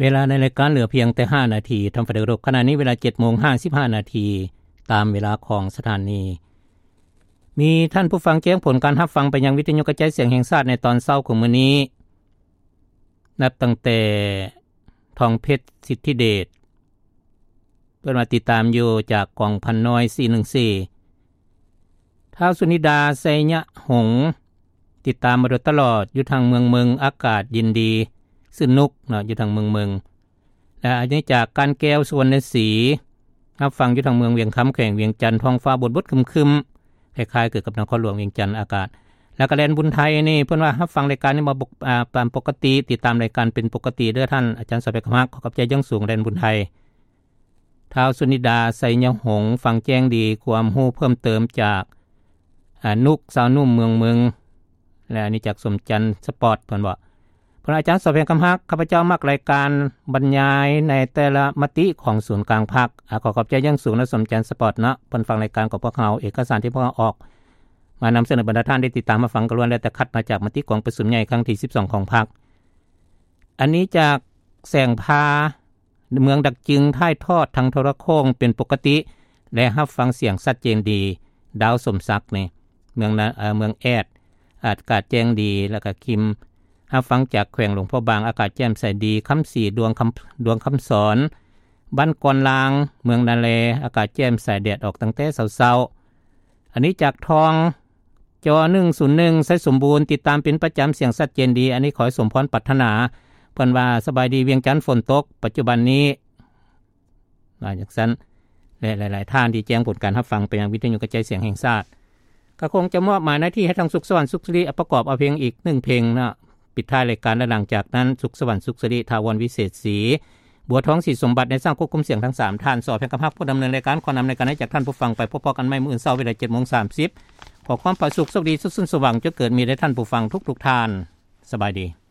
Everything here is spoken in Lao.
ເວລາໃນລາຍການເຫຼືອພຽງແຕ່ຫ້ານາທີ. ທ່ານຜູ້ຟັງທີ່ເຄົາລົບ, ຂະນະນີ້ເວລາເຈັດໂມງຫ້າສິບຫ້ານາທີ ຕາມເວລາຂອງສະຖານີ. ມີທ່ານຜູ້ຟັງແຈ້ງຜົນການຮັບຟັງໄປຍັງວິທະຍຸກະຈາຍສຽງແຫ່ງຊາດໃນຕອນເຊົ້າຂອງມື້ນີ້, ນັບຕັ້ງແຕ່ ທອງເພັດ ສິດທິເດດ ເພິ່ນວ່າຕິດຕາມຢູ່ຈາກກອງພັນນ້ອຍສີ່ໜຶ່ງສີ່, ທ້າວສຸນິດາ ໄຊຍະຫົງ ຕິດຕາມມາໂດຍຕະຫຼອດ ຢູ່ທາງເມືອງເມິງ ອາກາດເຢັນດີ ຊື່ນຸກເນາະ ຢູ່ທາງເມືອງເມິງ. ແລະ ອັນນີ້ຈາກການແກ້ວ ສຸວັນນະສີ ຮັບຟັງຢູ່ທາງເມືອງວຽງຄຳ ແຂວງວຽງຈັນ, ທ້ອງຟ້າບົດໆຄຶມໆ ຄ້າຍໆຄືກັບນະຄອນຫຼວງວຽງຈັນ ອາກາດ. ແລ້ວກໍແດນບຸນໄທນີ້ ເພິ່ນວ່າຮັບຟັງລາຍການນີ້ມາ ອາ ຕາມປົກກະຕິ, ຕິດຕາມລາຍການເປັນປົກກະຕິເດີທ່ານອາຈານສອບແພງຄຳຮັກ, ຂໍຂອບໃຈຢ່າງສູງແດນບຸນໄທ. ທ້າວສຸນິດາ ໄຊຍະຫົງ ຟັງແຈ້ງດີ, ຄວາມຮູ້ເພີ່ມເຕີມຈາກ ອາ ນຸກ ຊາວໜຸ່ມເມືອງເມິງ ແລະ ອັນນີ້ຈາກສົມຈັນສະປອດ ເພິ່ນວ່າ ເພິ່ນວ່າ ອາຈານສອບແພງຄຳຮັກ, ຂ້າພະເຈົ້າມັກລາຍການບັນຍາຍໃນແຕ່ລະມະຕິຂອງສູນກາງພັກ. ອາ ຂໍຂອບໃຈຢ່າງສູງນະ ສົມຈັນສະປອດເນາະ, ເພິ່ນຟັງລາຍການຂອງພວກເຮົາ, ເອກະສານທີ່ພວກເຮົາອອກມານຳສະເໜີ ບັນດາທ່ານໄດ້ຕິດຕາມຮັບຟັງກໍລ້ວນແລ້ວແຕ່ຄັດມາຈາກມະຕິກອງປະຊຸມໃຫຍ່ຄັ້ງທີສິບສອງຂອງພັກ. ອັນນີ້ຈາກແສງພາ ເມືອງດາກຈຶງ ຖ່າຍທອດທາງໂທລະໂຄ່ງເປັນປົກກະຕິ ແລະ ຮັບຟັງສຽງຊັດເຈນດີ. ດາວ ສົມສັກ ນີ້ ເມືອງນະ ເອີ ເມືອງແອດ ອາກາດແຈ້ງດີ ແລ້ວກະຄິມ ຮັບຟັງຈາກແຂວງຫຼວງພະບາງ ອາກາດແຈ່ມໃສດີ. ຄຳສີ ດວງຄຳ ດວງຄຳສອນ ບ້ານກອນລາງ ເມືອງນາແລ ອາກາດແຈ່ມໃສ ແດດອອກຕັ້ງແຕ່ເຊົ້າໆ. ອັນນີ້ຈາກທອງ ຈອໜຶ່ງສູນໜຶ່ງ ໄຊສົມບູນ ຕິດຕາມເປັນປະຈຳ ສຽງຊັດເຈນດີ. ອັນນີ້ຂໍໃຫ້ສົມພອນປາດຖະໜາ. ເພິ່ນວ່າ ສະບາຍດີວຽງຈັນ ຝົນຕົກປັດຈຸບັນນີ້ ວ່າຈັ່ງຊັ້ນ ແລະ ຫຼາຍໆທ່ານທີ່ແຈ້ງຜົນການຮັບຟັງໄປຍັງວິທະຍຸກະຈາຍສຽງແຫ່ງຊາດ. ກໍຄົງຈະມອບໝາຍໜ້າທີ່ໃຫ້ທາງສຸກສະຫວັນ ສຸກສິລິ ປະກອບເອົາເພງອີກໜຶ່ງເພງເນາະ ປິດທ້າຍລາຍການ ແລະ ຫຼັງຈາກນັ້ນ ສຸກສະຫວັນ ສຸກສິລິ ຖາວອນ ວິເສດສີ ບົວທອງ ສີສົມບັດ ໃນຊ່າງຄວບຄຸມສຽງທັງສາມທ່ານ. ສອບແພງຄຳຮັກ ຜູ້ດຳເນີນລາຍການ ຂໍນຳລາຍການໃຫ້ຈາກທ່ານຜູ້ຟັງໄປ. ພົບພໍ້ກັນໃໝ່ມື້ອື່ນເຊົ້າເວລາເຈັດໂມງສາມສິບ. ຂໍຄວາມຜາສຸກ ໂຊກດີ ສຸກເສີນ ສວ່າງ ຈົງເກີດມີແດ່ທ່ານຜູ້ຟັງທຸກໆທ່ານ. ສະບາຍດີ.